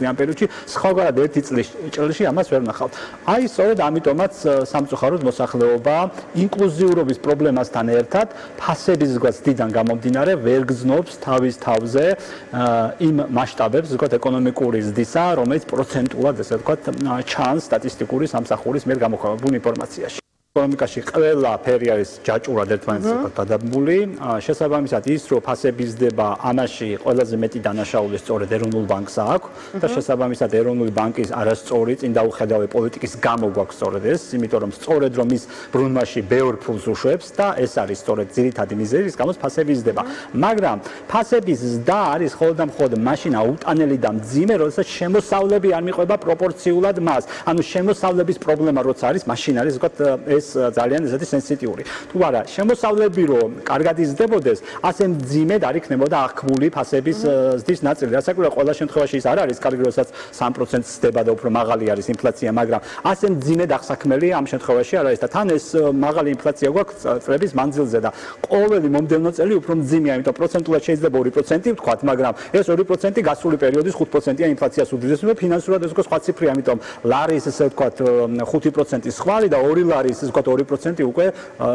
წლიან პერიოდში, სხვაგვარად ერთი წელში ამას ვერ ვნახავთ. აი სწორედ ამიტომაც სამწუხაროდ მოსახლეობა ინკლუზიურობის პრობლემასთან ერთად ფასების ზღვასთან გამომდინარე ვერ გრძნობს თავის თავზე იმ მასშტაბებს, ზოგადად ეკონომიკური ზრდისა, რომელიც პროცენტულად, ესე ვთქვათ, ჩანს სტატისტიკური სამსახურის მიერ გამოქვეყნებულ ინფორმაციაში. ეკონომიკაში ყველაფერი არის ჯაჭვურად ერთმანეთს გადაბმული. შესაბამისად ის, რომ ფასების ზრდება ამაში ყველაზე მეტი დანაშაული სწორედ ეროვნულ ბანკს აქვს და შესაბამისად ეროვნული ბანკის არასწორი წინ დაუხედავი პოლიტიკის გამო გვაქვს სწორედ ეს, იმიტომ რომ სწორედ რომ ის ბრუნვაში ბევრ ფულს უშვებს და ეს არის სწორედ ძირითადი მიზეზი, რის გამოც ფასების ზრდება. მაგრამ ფასების ზრდა არის მხოლოდ და მხოლოდ მაშინ აუტანელი და მძიმე, როდესაც შემოსავლები არ მიყვება პროპორციულად მას. ანუ შემოსავლების პრობლემა როცა არის, მაშინ არის ვთქვათ ეს ძალიან ესეთი სენსიტიური. თუ არა, შემოსავლები რომ კარგად იზრდებოდეს, ასე მძიმედ არ იქნებოდა აღქმული ფასების ზრდის ნაწილი. რასაკვირველია, ყველა შემთხვევაში ის არ არის კარგი, როდესაც 3% ზრდება და უფრო მაღალი არის ინფლაცია, მაგრამ ასე მძიმედ აღსაქმელი ამ შემთხვევაში არ არის და თან ეს მაღალი ინფლაცია გვაქვს წლების მანძილზე და ყოველი მომდევნო წელი უფრო მძიმეა, იმიტომ პროცენტულად შეიძლება 2% ვთქვათ, მაგრამ ეს 2% გასული პერიოდის 5%-იან ინფლაციას უდრიდეს, მაგრამ ფინანსურად ეს უკვე სხვა ციფრია, ამიტომ ლარის ესე ვთქვათ 5%-ის ხვალი და 2 ლარის 2% უკვე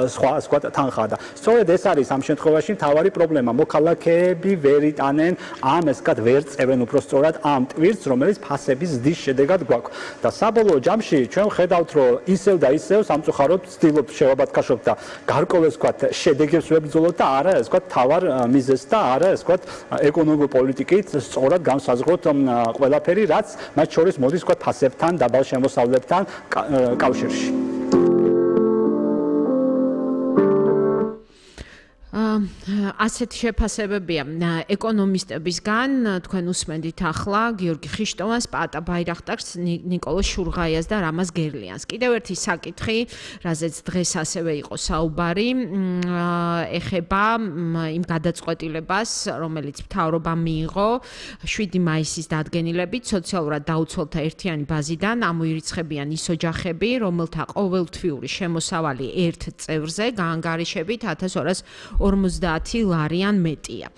სხვა თანხაა და სწორედ ეს არის ამ შემთხვევაში მთავარი პრობლემა. მოქალაქეები ვერ იტანენ ამ ესკად ვერ წევენ უბრალოდ ამ ტვირთს, რომელიც ფასების ზრდის შედეგად გვაქვს. და საბოლოო ჯამში ჩვენ ხედავთ, რომ ისევ და ისევ სამწუხაროდ ვცდილობთ შევაბათქაშოთ და გარკვეულ ესკად შედეგებს ვებრძოლოთ და არა ესკად თავარ მიზეზს და არა ესკად ეკონომიკური პოლიტიკით სწორად განსაზღვროთ ყველაფერი, რაც მათ შორის მოდის ესკად ფასებთან, დაბალ შემოსავლებთან კავშირში. ასეთი შეფასებებია ეკონომისტებისგან, თქვენ უსმენთ ახლა გიორგი ხიშტოვანს, პაატა ბაირახტარს, ნიკოლოზ შურღაიას და რამაზ გერლიანს. კიდევ ერთი საკითხი, რაზეც დღეს ასევე იყო საუბარი, ეხება იმ გადაწყვეტილებას, რომელიც მთავრობამ მიიღო 7 მაისის დადგენილებით სოციალურად დაუცველთა ერთიანი ბაზიდან ამოირიცხებიან ის ოჯახები, რომელთა ყოველთვიური შემოსავალი ერთ წევრზე გაანგარიშებით 1250 ლარიან მეტია.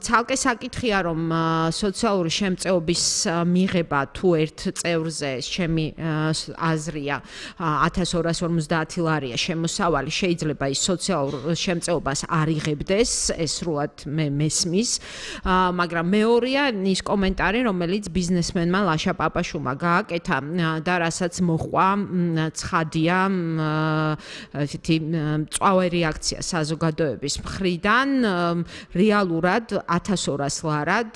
ცალკე საკითხია, რომ სოციალური შემწეობის მიღება თუ ერთ წევრზე, ჩემი აზრია, 1250 ლარია შემოსავალი, შეიძლება ის სოციალურ შემწეობას არ იღებდეს, ეს სრულად მე მესმის, მაგრამ მეორეა ის კომენტარი, რომელიც ბიზნესმენმა ლაშა პაპაშვილმა გააკეთა და რასაც მოჰყვა ცხადია ესეთი მწვავე რეაქცია საზოგადოების მხრიდან, რეალურად 1200 ლარად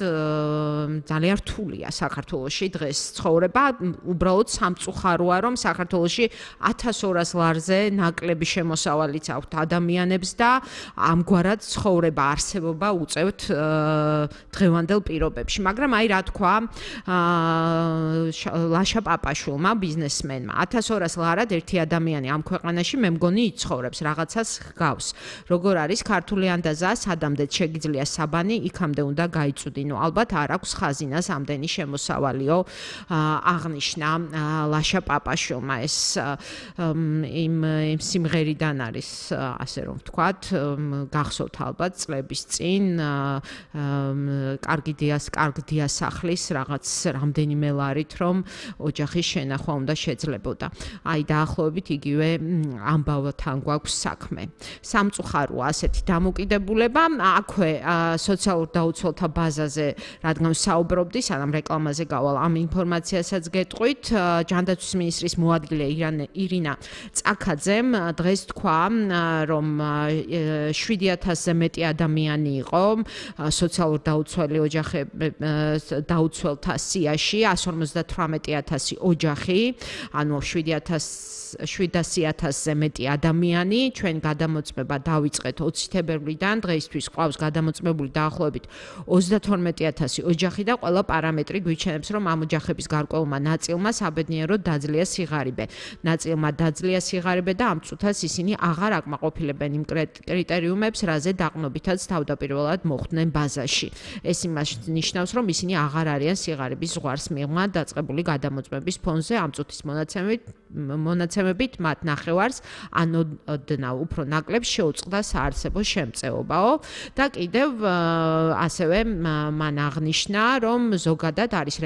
ძალიან რთულია საქართველოში დღეს ცხოვრება, უბრალოდ სამწუხაროა, რომ საქართველოში 1200 ლარზე ნაკლები შემოსავალიც აქვთ ადამიანებს და ამგვარად ცხოვრება არსებობა უწევთ დღევანდელ პირობებში. მაგრამ აი რა თქვა ლაშა პაპაშვილმა, ბიზნესმენმა, 1200 ლარად ერთი ადამიანი ამ ქვეყანაში მე მგონი იცხოვრებს, რაღაცას ჰგავს. როგორ არის ქართული ანდაზა, სადამდეც შეგიძლია საბანი, იქამდე უნდა გაიწვდინო. ალბათ არ აქვს ხაზინას ამდენი შემოსავალიო, აღნიშნა ლაშა პაპაშვილმა. ეს იმ სიმღერიდან არის, ასე რომ ვთქვათ, გახსოვთ ალბათ წლების წინ კარგი დიასახლის რაღაც რამდენიმე ლარით, რომ ოჯახის შენახვა უნდა შეძლებოდა. აი დაახლოებით იგივე ამბავთან გვაქვს საქმე. სამწუხაროა ასეთი დამოკიდებულება. აქვე სოციალურ დაუცველთა ბაზაზე, რადგან საუბრობდი, სანამ რეკლამაზე გავალ, ამ ინფორმაციასაც გეტყვით, ჯანდაცვის მინისტრის მოადგილე ირინა წაქაძემ დღეს თქვა, რომ 7000-ზე მეტი ადამიანი იყო სოციალურ დაუცველთა სიაში, 158,000 ოჯახი, ანუ 700,000-ზე მეტი ადამიანი, ჩვენ გადამოწმება დავიწყეთ 20 თებერვლიდან, დღეისთვის ყავს გადამოწმებული დაახლოებით 32,000 ოჯახი და ყველა პარამეტრი გვიჩვენებს, რომ ამ ოჯახების გარკვეულმა ნაწილმა საბედნიეროდ დაძლია სიღარიბე. ნაწილმა დაძლია სიღარიბე და ამ წუთას ისინი აღარ აკმაყოფილებენ იმ კრიტერიუმებს, რაზე დაყრდნობითაც თავდაპირველად მოხვდნენ ბაზაში. ეს იმას ნიშნავს, რომ ისინი აღარ არიან სიღარიბის ზღვარს მიღმა დაწყებული გადამოწმების ფონზე. ამ წუთის მონაცემებით მათ ნახევარს ანოდნავ უფრო ნაკლებს შეუწყდა საარსებო შემწეობაო და კიდევ ასევე მან აღნიშნა, რომ ზოგადად არის